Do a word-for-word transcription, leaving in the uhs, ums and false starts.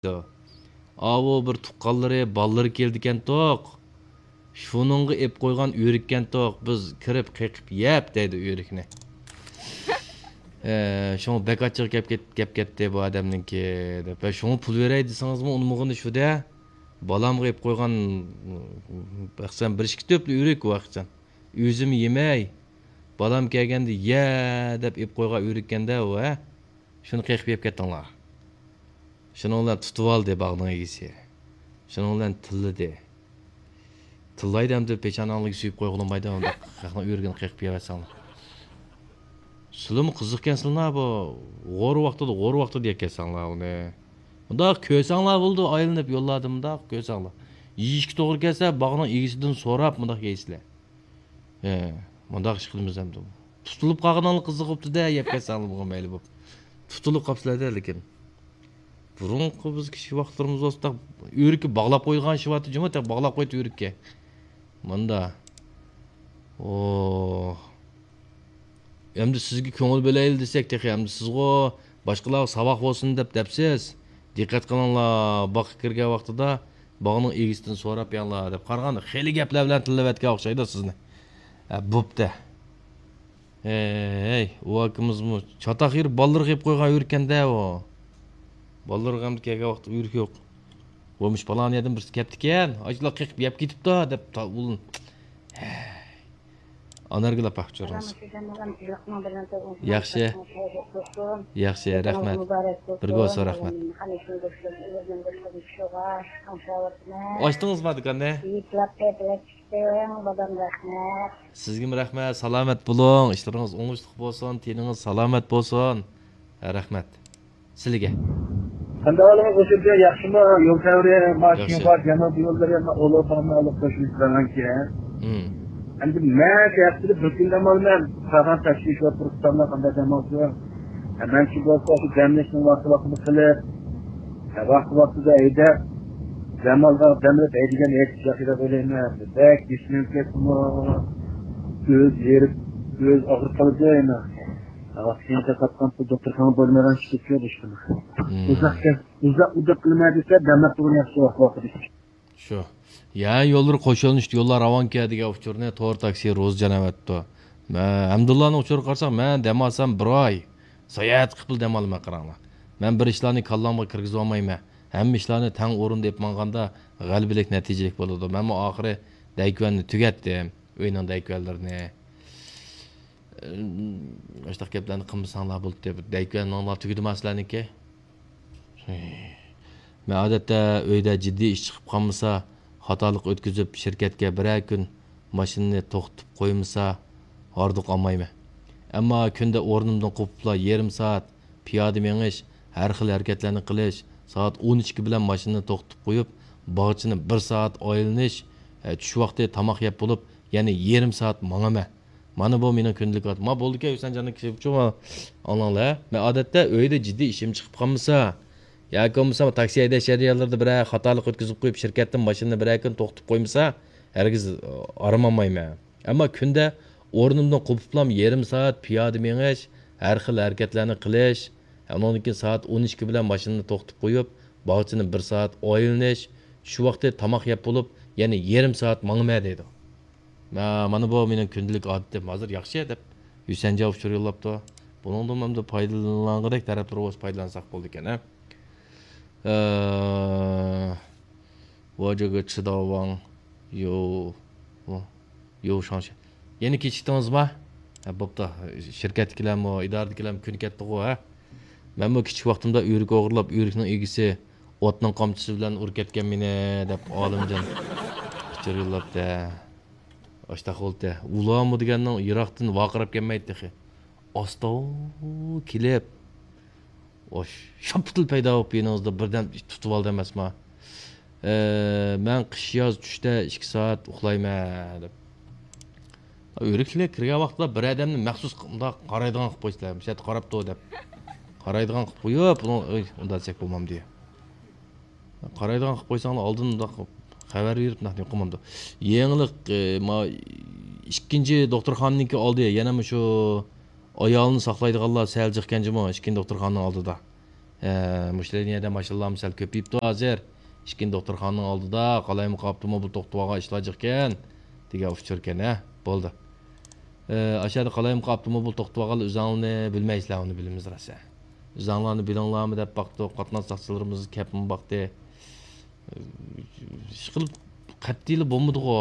دەيدۇ. ئاۋۇ بىر تۇغقانلىرى، بالىلىرى كېلىدىكەنتۇق. شۇنىڭغا ئېلىپ قويغان ئۆرۈككەنتۇق. بىز كىرىپ قېقىپ يەپ دەيدۇ ئۆرۈكنى. ئە، شۇڭا بەك ئاچچىقى كەپ كەت-، كەپ كەتتى بۇ ئادەمنىڭكى، دەپ. ۋە شۇڭا پۇل بېرەي دېسىڭىزمۇ ئۇنىمىغىنى شۇ-دە. بالامغا ئېلىپ قويغان، مەسىلەن، بىر ئىككى تۆپلا ئۆرۈك ئۇ ۋاقىتچان. ئۆزۈم يېمەي، بالام كەلگەندە يە دەپ ئېلىپ قويغان ئۆرۈككەندە ئۇ، ھە؟ شۇنى قېقىپ يەپ كەتتىڭلار. شۇنىڭ بىلەن تۇتۇۋالدى باغنىڭ ئىگىسى. شۇنىڭ بىلەن تىللىدى. تىللايدۇ ئەمدى، پېشاناڭلىرىغا سۆيۈپ قويغىلىمايدۇ، ئۇنداق خەقنىڭ ئۆرۈكىنى قېقىپ يەۋەتسەڭلار. سىلىمۇ قىزىقكەنسىلەر بۇ. غور ۋاقتىدا، غور ۋاقتىدا يەكەنسەڭلار ئۇنى. مۇنداق كۆرسەڭلار بولىدۇ، ئايلىنىپ يوللاردىن مۇنداق كۆرسەڭلار. يېيىشكە توغرا كەلسە، باغنىڭ ئىگىسىدىن سوراپ مۇنداق يەيسىلەر. ھە، مۇنداق ئىش قىلىمىز ئەمدى. تۇتۇلۇپ قالغىنىڭلار قىزىق بوپتۇ-دە، يەپ كەتسەڭلار بۇغا مەيلى بوپ. تۇتۇلۇپ قاپسىلەر-دە، لېكىن. بۇرۇنقى بىز كىچىك ۋاقىتلىرىمىز بولسا، ئۆرۈككە باغلاپ قويىدىغان ئىش بارتى جۇمۇ، تېخى باغلاپ قويدى ئۆرۈككە. مۇندا. ئوھ. ئەمدى سىزگە كۆڭۈل بۆلەيلى دېسەك، تېخى ئەمدى سىزغۇ باشقىلارغا ساۋاق بولسۇن دەپ دەپسىز. دىققەت قىلىڭلار، باغقا كىرگەن ۋاقتىدا باغنىڭ ئىگىسىدىن سوراپ يەڭلار دەپ قارىغاندا، خېلى گەپلەر بىلەن تىللىۋەتكەن ئوخشايدۇ سىزنى. ھە، بوپتۇ. ھەي، ئۇ ئاكىمىزمۇ چاتاق يېرى بالىلىرىغا يەپ قويغان ئۆرۈككەن-دە ئۇ. بالىلىرىغا ئەمدى كەلگەن ۋاقىتتا ئۆرۈك يوق. بولمۇش پالان يەردىن بىرسى كەپتىكەن، ئاشۇلار قېقىپ يەپ كېتىپتۇ دەپ تا-، ئۇ-، ھەي. ئانارگۈل ئاپا، ئۇچۇرىڭىز. ياخشى. ياخشى، رەھمەت. بىرگە بولسۇن، رەھمەت. ئاچتىڭىزمۇ دۇكاننى؟ سىزگىمۇ رەھمەت، سالامەت بولۇڭ، ئىشلىرىڭىز ئوڭۇشلۇق بولسۇن، تېنىڭىز سالامەت بولسۇن. ھە، رەھمەت. سىلىگە. قانداق ئەھۋالىڭىز، ئوشۇنچە ياخشىمۇ؟ يول تەۋرى، ماشىنا بار، جەنۇب يوللىرى، ئۇلۇغ تامنى ئالىپ قوشۇلۇپ بەرگەنكەن. مم. ئەمدى مەن شۇ ھەپتىدە بىر كۈن دەم ئالىمەن، ساغان تەكشۈرۈش ۋە پۇرسىتامدا قانداق دەم ئالسۇن؟ ھە، مەن شۇ بولسا شۇ دەملەشنىڭ ۋاقتى ۋاقتىدا قىلىپ، ھە، ۋاقتى ۋاقتىدا ھەيدەپ، دەم ئالغان دەم ئېلىپ ھەيدىگەن ھېچ ياخشىراق ئويلايمەن. بەك يېشىلىنىپ كەتتىمۇ، ئۆز ھېرىپ، ئۆز ئاغرىپ قالىدۇ ئەمە. ۋاقتىنچە تاپقان پۇل دوختۇرخانىغا بولمىغان چىقىپ كېلىدۇ ئىشتىن. مم. ئۇزاق گەپ، ئۇزاق ئۇدۇق قىلما دېسە، دەملەپ تۇرغىنى ياخشى ۋاقىت ۋاقىت. شۇ. يا يوللىرى قوشۇلۇشتى، يوللار راۋانكەن دېگەن ئۇچۇرنى تور تاكسى روزى جان ئەۋەتتى. مە-، ھەمدۇللانىڭ ئۇچۇرىغا قارىساق، مەن دەم ئالسام بىر ئاي ساياھەت قىلىپلا دەم ئالىمەن، قاراڭلار. مەن بىر ئىشلارنى كاللامغا كىرگۈزۈۋالمايمەن. ھەممە ئىشلارنى تەڭ ئورۇندا ئېلىپ ماڭغاندا غەلىبىلىك، نەتىجىلىك بولىدۇ. مەنمۇ ئاخىرى دەيكۈەننى تۈگەتتىم، ئۆينىڭ دەيكۈەنلىرىنى. ئاشۇنداق گەپلەرنى قىلمىساڭلار بولاتتى. بىر دەيكۈەننىڭلار تۈگىدىما سىلەرنىڭكى؟ مەن ئادەتتە ئۆيدە جىددىي ئىش چىقىپ قالمىسا، خاتالىق ئۆتكۈزۈپ، شىركەتكە بىرەر كۈن ماشىنىنى توختىتىپ قويمىسا، ھاردۇق ئالمايمەن. ئەمما كۈندە ئورنۇمدىن قوپۇپلا يېرىم سائەت پىيادە مېڭىش، ھەر خىل ھەرىكەتلەرنى قىلىش، سائەت ئون ئىككى بىلەن ماشىنىنى توختىتىپ قويۇپ، باغچىنى بىر سائەت ئايلىنىش، ئە، چۈش ۋاقتى تاماق يەپ بولۇپ، يەنە يېرىم سائەت ماڭىمەن. مانا بۇ مېنىڭ كۈندىلىك ھاياتىم. ما بولدىكەن، ھۈسەنجاننىڭ كىشى ئۇچۇن ئاڭلاڭلار. مەن ئادەتتە ئۆيدە جىددىي ئىشىم چىقىپ قالمىسا، ياكى بولمىسا تاكسى ھەيدەش جەريانلىرىدا بىرەر خاتالىق ئۆتكۈزۈپ قويۇپ، شىركەتتىن ماشىنىنى بىرەر كۈن توختىتىپ قويمىسا، ھەرگىز ئارام ئالمايمەن. ئەمما كۈندە ئورنۇمدىن قوپۇپلام يېرىم سائەت پىيادە مېڭىش، ھەر خىل ھەرىكەتلەرنى قىلىش، ئۇنىڭدىن كېيىن سائەت ئون ئىككى بىلەن ماشىنىنى توختىتىپ قويۇپ، باغچىنى بىر سائەت ئايلىنىش، چۈش ۋاقتى تاماق يەپ بولۇپ، يەنە يېرىم سائەت ماڭىمەن دەيدۇ. مە-، مانا بۇ مېنىڭ كۈندىلىك ئادىتىم. ھازىر ياخشى دەپ ھۈسەنجان ئۇچۇر يوللاپتۇ. بۇنىڭدىن ئەمدى پايدىلانغۇدەك تەرەپلىرى بولسا پايدىلانساق بولىدىكەن، ھە؟ ئە، ۋاجىگا چىداۋاڭ يو، يو شاڭشى. يەنە كېچىكتىڭىزما؟ ھە، بوپتۇ. شىركەتتىكىلەرمۇ، ئىدارىدىكىلەرمۇ كۈن كەتتىغۇ، ھە؟ مەنمۇ كىچىك ۋاقتىمدا ئۆرۈك ئوغرىلاپ، ئۆرۈكنىڭ ئىگىسى ئوتنىڭ قامچىسى بىلەن ئۇرۇپ كەتكەن مېنى، دەپ ئالىمجان ئۇچۇر يوللاپتۇ. ئاشتاق بولدى. ئۇلارمۇ دېگەننىڭ يىراقتىن ۋارقىراپ كەلمەيدۇ تېخى. ئاستا كېلىپ، ئوش، شاپپىتىلا پەيدا بولۇپ يېنىڭىزدا بىردەم تۇتۇۋالدى ئەمەسما؟ ئە، مەن قىش ياز چۈشتە ئىككى سائەت ئۇخلايمەن، دەپ. ئۆرۈكلەر كىرگەن ۋاقىتتا بىر ئادەمنى مەخسۇس مۇنداق قارايدىغان قىلىپ قويسىلەر، مۇشۇ يەردە قاراپتۇ دەپ. قارايدىغان قىلىپ قويۇپ، ئۇنىڭ، ئۇنداق دېسەك بولمامدۇ. قارايدىغان قىلىپ قويساڭلار ئالدىن مۇنداق خەۋەر بېرىپ، نەق يوقىمامدۇ. يېڭىلىق، ئى، ما، ئىككىنچى دوختۇرخانىنىڭكى ئالدى، يەنە مۇشۇ ئايالنى ساقلايدىغانلار سەل جىقكەن جۇمۇ، ئىككىنچى دوختۇرخانىنىڭ ئالدىدا. ھە، مۇشۇ لىنىيەدە ماشىنىلارمۇ سەل كۆپىيىپتۇ ھازىر. ئىككىنچى دوختۇرخانىنىڭ ئالدىدا قالايمىقان ئاپتوموبىل توختىتىۋالغان ئىشلار جىقكەن دېگەن ئۇچۇركەن، ھە؟ بولدى. ئە، ئاشۇ يەردە قالايمىقان ئاپتوموبىل توختىتىۋالغانلار ئۆزۈڭلارنى بىلمەيسىلەر، ئۇنى بىلىمىز راسا. ئۆزۈڭلارنى بىلىڭلارمۇ دەپ باقتۇق، قاتناش ساقچىلىرىمىز كەپمۇ باقتى. ئىشقىلىپ قەتئىيلا بولمىدىغۇ.